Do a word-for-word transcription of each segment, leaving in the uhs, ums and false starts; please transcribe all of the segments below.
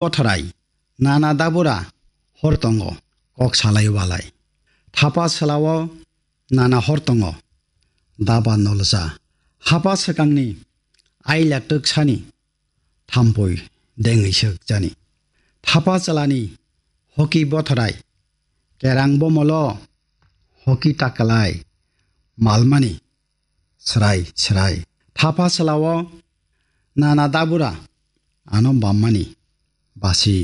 Bothorai, nana dabura hor tongo, kok salai walai. Thapa salao nana hor tongo, daba nolja. Hapa swkangni aila twk sani, thampui dengwi swk jani. Thapa chalani hoki bothorai, kerang bomolo hoki takalai, malmani srai srai. Thapa salao nana dabura ano bammani basi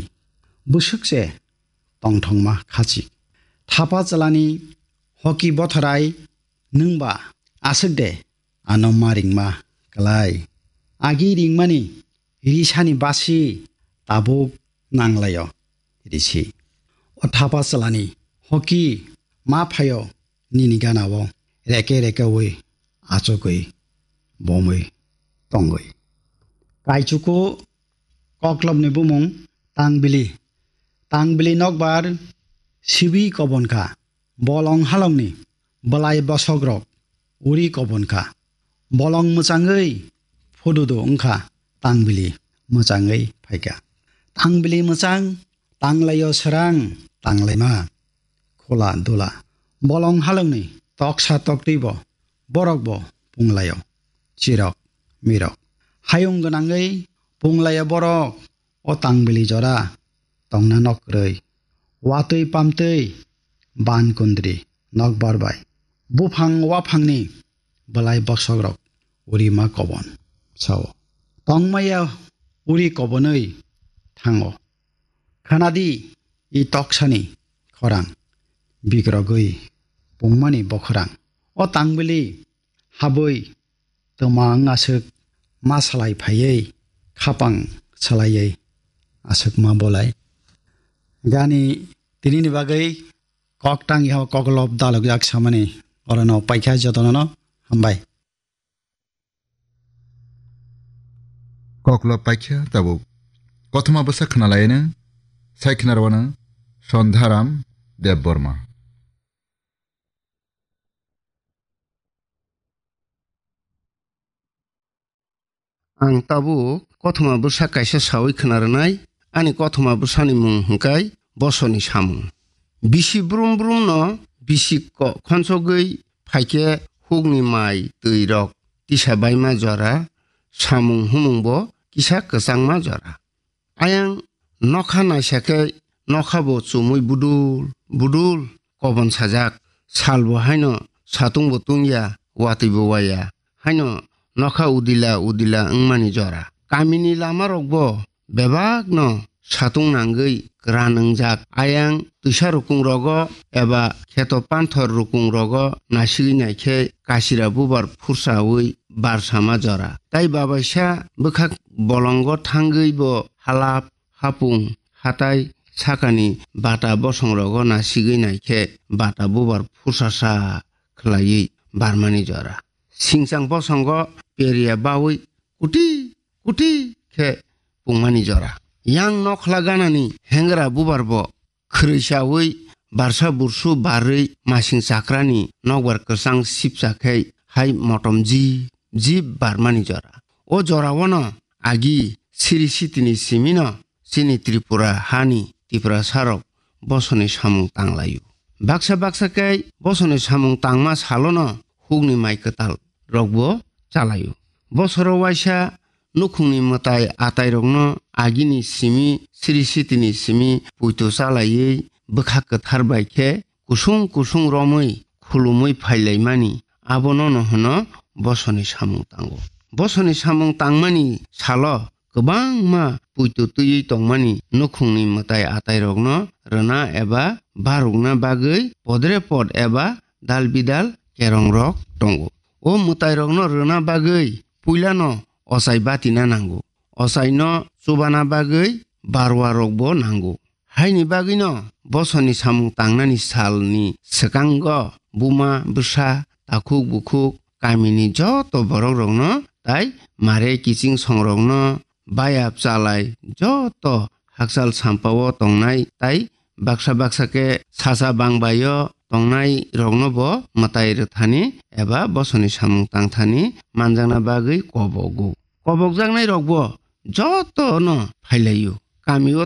bwswk se tongthokma khachi. Thapa chalani hoki bothorai nwngba aswk de ano ma ringma klai. Agi ringmani risani basi tabuk nanglaio risi. O thapa chalani hoki ma phaio nini ganao reke reke wi achugwi bomwi tongwi. Kaichuku koklopni bumung tangbili. Tangbili nokbar sibi kobon kha. Bolong halongni belai bosokrok uri kobon kha. Bolong mwchangwi phududu wngkha, tangbili mwchangwi phaikha. Tangbili mwchang, tanglaio srang, tanglaima khula dula. Bolong halongni toksa toktwibo borokbo punglaio chirok mirok. Hayung gwnangwi punglaio borok o tangbili jora tongna nok kwrwi. Watwi pamtwi ban kundri nokbar bai. Buphang waphangni belai bosokrok uri ma kobon sao. Tongmaya uri kobonwi thango. Khanadi i toksani khorang bikrogwi pungmani bokhorang. O tangbili habwi twma wng aswk ma salai phaiwi khapang salaiwi aswk ma bolai. Gani tinini bagwi kok tang yaho koklop dalokjak samani orono paikha jotonono hambai. Koklop paikha tabuk. Kothoma bwsa khnalaino sai khnarwano Sondharam Debbarma. Ang tabuk kothoma bwsa kaisa sawi khna rwnai, ani kothoma bwsani mung hwnkhe Bosoni Samung. Bisi brum brum no bisi ko-, khonsogwi phaikhe hukni mai twi rok tisa baima jora, samung humung bo kisa kwchangma jora. Ayang nokha naisa khe nokha bo chumui budul budul kobon sajak. Sal bo haino satung bo tungya, watwi bo waya. Haino nokha udila udila wngmani jora. Kamini lama rok bo bebak no satung nangwi kwran wngjak. Ayang twisa rukung rogo eba kheto panthor rukung rogo nasigwi naikhe kasira bubar phursawi barsama jora. Tai babaisa bwkhak bolongo thangwi bo halap hapung hatai sakani bata bosongrogo nasigwi naikhe bata bubar phusasa khlaiwi barmani jora. Singchang bosongo periya bawi kuti kuti khe pungmani jora. Yang nokhla ganani hengra bubar bo khwrwi chawi barsa bursu barwi masing chakrani nokbar kwchang sipcha khe hai motom jib jib barmani jora. O jorao no agi siri sitini simino chini Tripura hani Tiprasa rok Bosoni Samung tanglaio. Baksa baksa khe Bosoni Samung tangma salono hukni mai kwtal rokbo chalaio. Bosoro waisa nukhungni mwtai atairokno agini simi, siri sitini simi puito chalaiwi bwkha kwthar bai khe kusung kusung romwi khulumwi phailaimani, abono no hwno Bosoni Samung tango. Bosoni Samung tangmani salo kwbangma puito twiwi tongmani nukhungni mwtai atairokno rwna eba barukna bagwi podre pod eba dal bidal kerongrok tongo. O mwtairokno rwna bagwi puilano ochai batina nango. Ochaino chubana bagwi barwarokbo nango. Haini bagwino Bosoni Samung tangnani salni swkango buma, bwsa, takhuk, bukhuk, kamini joto borokrokno tai mare kiching songrokno, bayap chalai joto hakchal sampao tongnai tai baksa baksa khe sacha bangbaio tongnai rokno bo mwtai rwthani eba Bosoni Samung tangthani manjakna bagwi kobogo. Kobokjaknai rokbo joto no phailaio. kamio